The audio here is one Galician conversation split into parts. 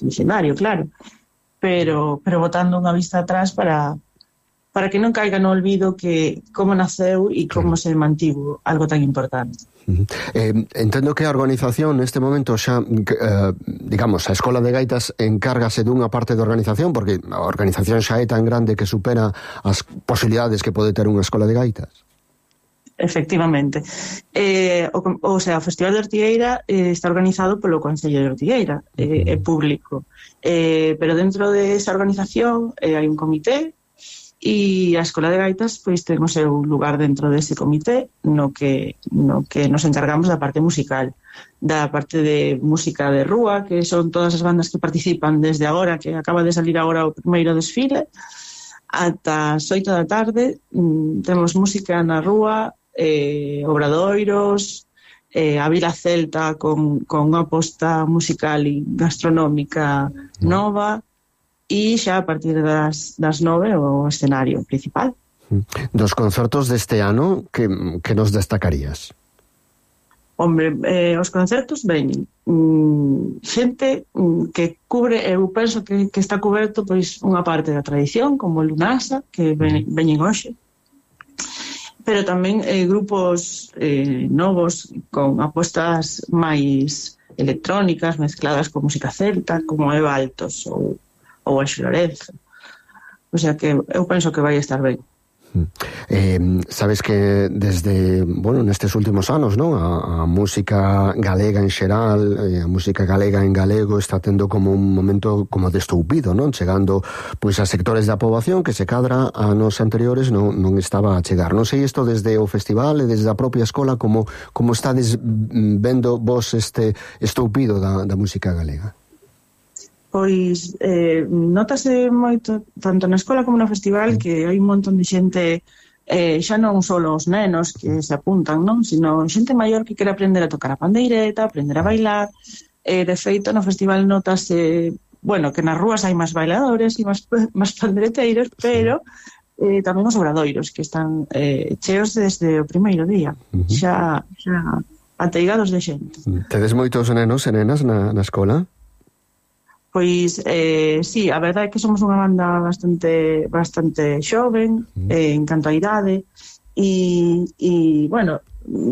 escenario, claro, pero botando unha vista atrás para que non caiga no olvido que como naceu e como se mantivo algo tan importante. Entendo que a organización neste momento xa, digamos, a Escola de Gaitas encárgase dunha parte da organización, porque a organización xa é tan grande que supera as posibilidades que pode ter unha escola de gaitas. Efectivamente. O Festival de Ortigueira está organizado polo Concello de Ortigueira, é público. Pero dentro desa organización hai un comité e a Escola de Gaitas pois ten o seu lugar dentro dese comité no que nos encargamos da parte musical, da parte de música de rúa, que son todas as bandas que participan desde agora, que acaba de salir agora o primeiro desfile, ata as 8 da tarde. Temos música na rúa, obradoiros, a Vila Celta con unha aposta musical e gastronómica nova, e xa a partir das 9 o escenario principal. Dos concertos deste ano, que nos destacarías? Hombre, os concertos veñen xente que cubre, eu penso que está coberto pois unha parte da tradición, como o Lunasa, que veñen hoxe, pero tamén grupos novos con apostas máis electrónicas mezcladas con música celta, como Eva Altos ou Anxo Lorenzo. O sea que eu penso que vai estar ben. Sabes que desde, nestes últimos anos, non? A música galega en xeral, a música galega en galego está tendo como un momento como de estoupido, non? Chegando pois a sectores da poboación que se cadra a anos anteriores non estaba a chegar. Non sei isto desde o festival e desde a propia escola como estades vendo vos este estoupido da música galega. Pois notase moito, tanto na escola como no festival, que hai un montón de xente, xa non só os nenos que se apuntan, non? Sino xente maior que quere aprender a tocar a pandeireta, aprender a bailar. De feito, no festival notase, que nas rúas hai máis bailadores e máis pandereteiros, pero tamén os obradoiros, que están cheos desde o primeiro día, xa ateigados de xente. Tedes moitos nenos e nenas na escola? Pois, sí, a verdade é que somos unha banda bastante xoven, en canto a idade, e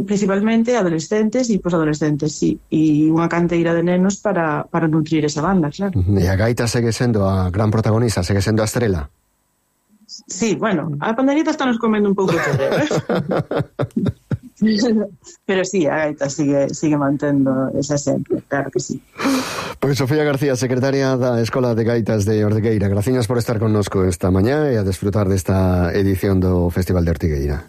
principalmente adolescentes e posadolescentes, sí, e unha canteira de nenos para nutrir esa banda, claro. E a gaita segue sendo a gran protagonista, segue sendo a estrela? Sí, a pandereta está nos comendo un pouco de pero sí, a gaita sigue mantendo esa esencia, claro que sí. Pois Sofía García, secretaria da Escola de Gaitas de Ortigueira, graciñas por estar connosco esta mañá e a desfrutar desta edición do Festival de Ortigueira.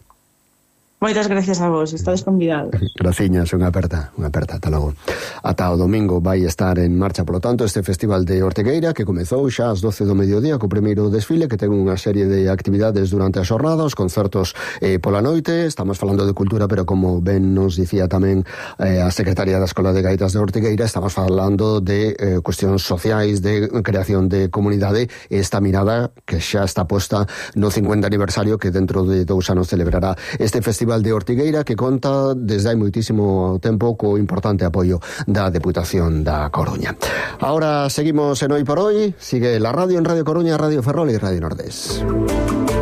Moitas gracias a vos, estades convidados. Graciñas, unha aperta, ata logo. Ata o domingo vai estar en marcha, polo tanto, este Festival de Ortigueira que comezou xa ás 12 do mediodía co primeiro desfile, que ten unha serie de actividades durante a xornada, os concertos pola noite. Estamos falando de cultura, pero como ben nos dicía tamén a secretaria da Escola de Gaitas de Ortigueira, estamos falando de cuestións sociais, de creación de comunidade, e esta mirada que xa está posta no 50 aniversario que dentro de 2 anos celebrará este Festival de Ortigueira, que conta desde hai moitísimo tempo co importante apoio da Deputación da Coruña. Ahora seguimos en Hoy por Hoy, sigue la radio en Radio Coruña, Radio Ferrol e Radio Nordés.